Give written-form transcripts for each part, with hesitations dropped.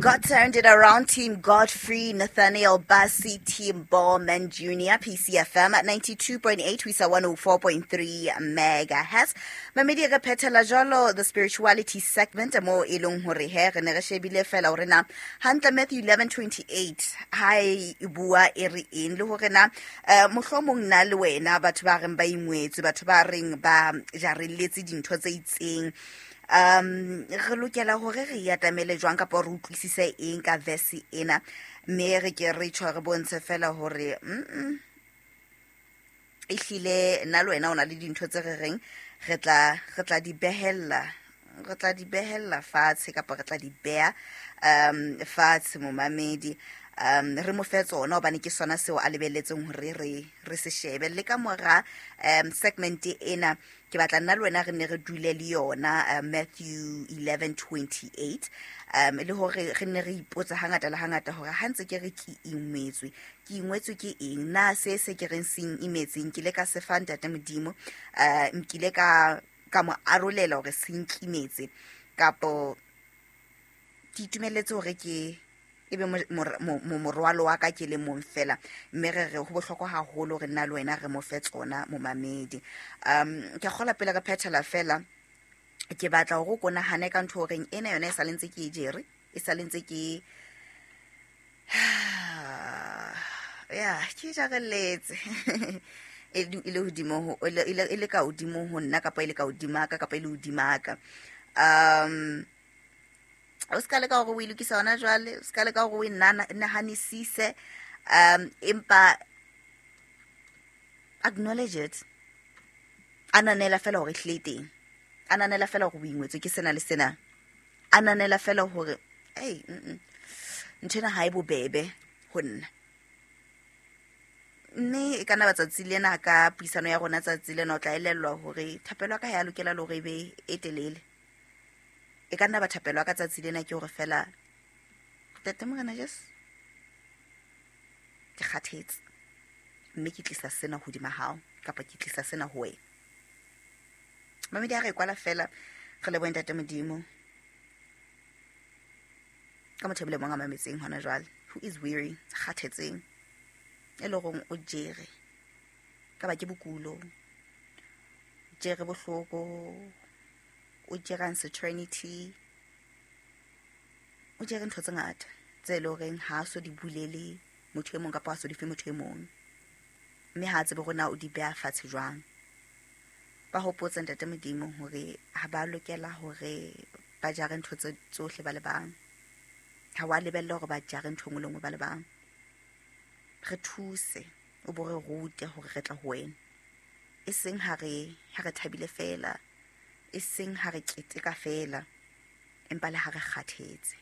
God turned it around, Team Godfrey, Nathaniel Bassi, Team Ballman Jr., PCFM at 92.8, Wisa 104.3 megahertz. Mamedi re phethela jwalo the spirituality segment mo e leng hore he re ne re shebile fela hore na hantle Matthew 11:28 ha e bua e re eng le hore na mohlomong nna le wena batho ba reng ba ingwetswe, batho ba reng ba jarelletse dintho tse itseng, re lokela hore re atamele jwang kapa re utlwisise eng ka verse ena, mme re ke re tjho re bontshe fela hore ehlile nna le wena o na le dintho tse re reng re tla di behella, re tla di behella fatshe kapa re tla di beha fatshe momamedi, re mo fe tsona hobane ke sona seo a lebelletseng hore re se shebe. Le ka mora segment ena ke batla nna le wena re ne re dule le yona Matthew 11:28, le hore re ne re ipotsa hangata le hangata hore ha ntse ke re ke ingwetswe, ke ingwetswe ke eng, na se se ke reng seng imetseng ke ile ka se fa Ntate Modimo, nkile ka mo arolela hore se nkimetse, kapo ke itumeletse hore ke ebe morwalo wa ka ke le mong fela. Mme re re ho bohlokwa haholo re nna le wena re mo fe tsona momamedi. Ke a kgolwa pele re phethela fela, ke batla hore o ko nahane ka ntho horeng ena yona e sa le ntse ke e jere, e sa le ntse ke ya ke jarelletse. E le hodimo ho, e le, e le ka hodimo ho nna kapa e le ka hodima ka kapa e le hodima ka. O ska leka hore o e lokise hona jwale, o ska leka hore o e nahanisise, empa acknowledge it. Ananela fela hore e hlile e teng. Ananela fela hore o ingwetswe ke sena le sena. Ananela fela hore, ei, ntho ena ha e bobebe ho nna. Mme e ka nna ba tsatsi lena ka puisano ya rona tsatsi lena o tla elellwa hore thapelo ya ka ha ya lokela le hore e be e telele. E ka nna ba thapelo ya ka tsatsi lena ke hore fela, Ntate Morena Jesu, ke kgathetse, mme ke tlisa sena hodima hao, kapa ke tlisa sena ho wena. Mamedi a re kwala fela, re lebohe Ntate Modimo ka motho e mong le mong a mametseng hona jwale, who is weary, kgathetseng, e leng hore o jere, ka ba ke bokulo, jere bohloko, o jere uncertainty, o jere ntho tse ngata tse leng horeng ha a so di bulele motho e mong kapa ha so di fe motho e mong, mme ha a tsebe hore na o di beha fatshe jwang. Ba hopotse Ntate Modimo hore ha ba lokela hore ba jare ntho tse tsohle ba le bang. Ha wa lebella hore ba jare ntho e nngwe le nngwe ba le bang. Re thuse, o bo re rute hore re tla ho wena. E seng ha re thabile fela, e seng ha re keteka fela, empa le ha re kgathetse.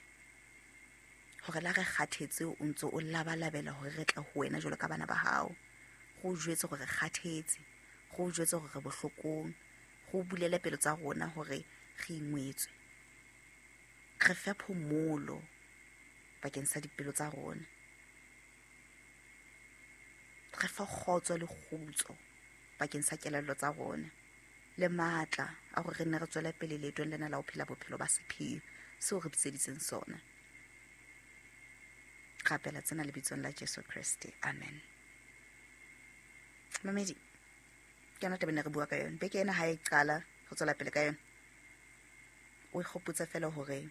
Hore la re kgathetse o ntso o labalabela hore re tle ho wena jwalo ka bana ba hao. Go jwetse hore re kgathetse, go jwetse hore re bohlokong, go bulele pelo tsa rona hore re ingwetswe. Re fe phomolo bakeng sa dipelo tsa rona. Re fe kgotso le kgutso bakeng sa kelello tsa rona, le matla a hore re nne re tswele pele leetong lena la ho phela bophelo ba sephiri seo re bitseditseng sona. Rapela tsena lebitsong la Jesu Kreste, amen. Mamedi, ke yona taba e ne re bua ka yona beke ena ha e qala, re tswela pele ka yona. O ikgopotse fela hore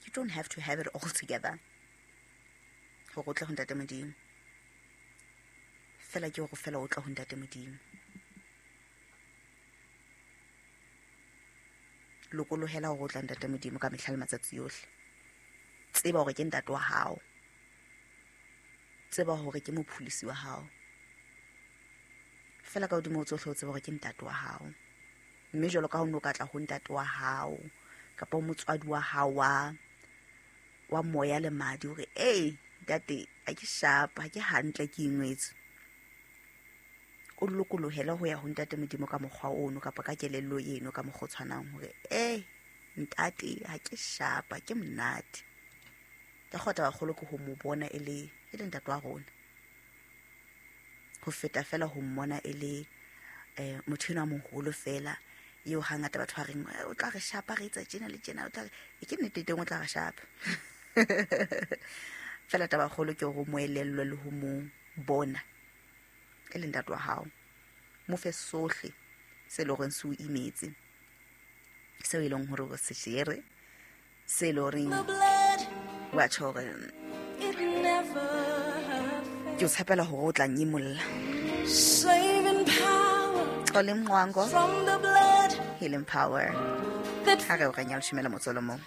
you don't have to have it all together hore o tle ho Ntate Modimo. Fela ke hore fela o tle ho Ntate Modimo. Lokolohela hore o tla Ntate Modimo ka mehla le matsatsi yohle. Tseba hore ke ntate wa hao. Tseba hore ke mopholosi wa hao. Fela ka hodimo ho tsohle o tseba hore ke ntate wa hao. Mme jwalo ka ha o no ka tla ho ntate wa hao kapa ho motswadi wa hao wa moya le madi hore, ei, ntate, ha ke sharp, ha ke hantle, ke ingwetswe. O lokolohele ho ya ho Ntate Modimo ka mokgwa ono kapa ka kelello eno ka mokgwa o tshwanang hore, ei, ntate, ha ke sharp, ha ke monate. Ka kgotsa taba kgolo ke ho mo bona e le ntate wa rona. Ho feta fela ho mmona e le motho enwa moholo fela, eo hangata batho ba reng, o tla re shapa, re etsa tjena le tjena, o tla re, e ke nnete teng o tla re shapa. Fela tabakgolo ke gore o mo elellwe le ho mo bona e le ntate wa hao. Mo fe sohle se e le goreng se o imetse, seo e leng gore o se jere, se e le goreng wa tjho hore ke o tshepela hore o tla nyimolla. Xoli Mncwango, Healing Power. Ha re o renya leshome le motso o le mong.